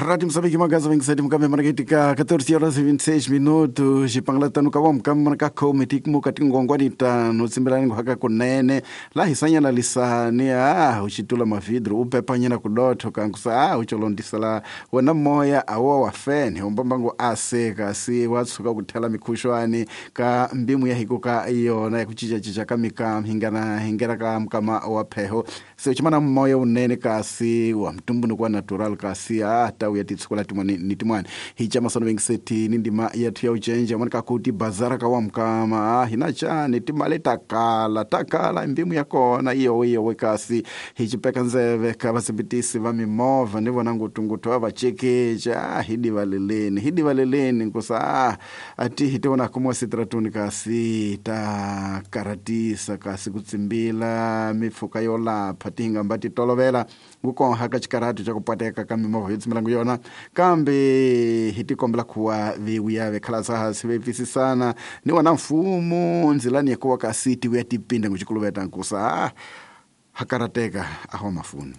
Rádio Moçambique Magaza 27 mukambe marketika 14 horas e 26 minutos xipangala ka wa mukambe ka khome tikumuka tingongwani tano tsimbelani haka kunene la hisanyana lisani a uxitula mavidro upepanyana kudotho kankusa a ucolondisela wena moya awa wa fene umbambango ase kasi wa tshuka ku thela mikhuxwani ka mbimu ya hiko ka yona ya ku cincacinca ka mikam hingana hingera ka mukama wa pheho se uchimana moya unene kasi wa mtumbuluko wa natural kasi a tawu ya titshukula tin'wani ni tin'wani hi camasano vengiseti ni ndima yathu ya ucenja mani kakuti bazara ka wa mukama a hina cani timali takala takala mbimu ya kona iyowe iyowe kasi hi cipeka ndzeve ka vasimbitisi va mimovha ni vona ngutungutu va vacekeca a hi divaleleni hi divaleleni nkusa a ati hi tivona kumiwa sitratuni kasi ta karatisa kasi ku tsimbila mipfhuka yo lapha ti hingamba ti tolovela kukonha ka xikarhato xa ku pateka ka mimovha yo tsimbelangu yona kambe hi tikombela kuwa viwuya vekhalasa hansi vepfisisana ni wona mfumo ndzilani ya kuwa kasi ti vuya tipinda nguxikuluveta nkusa a hakarateka aho mafuni.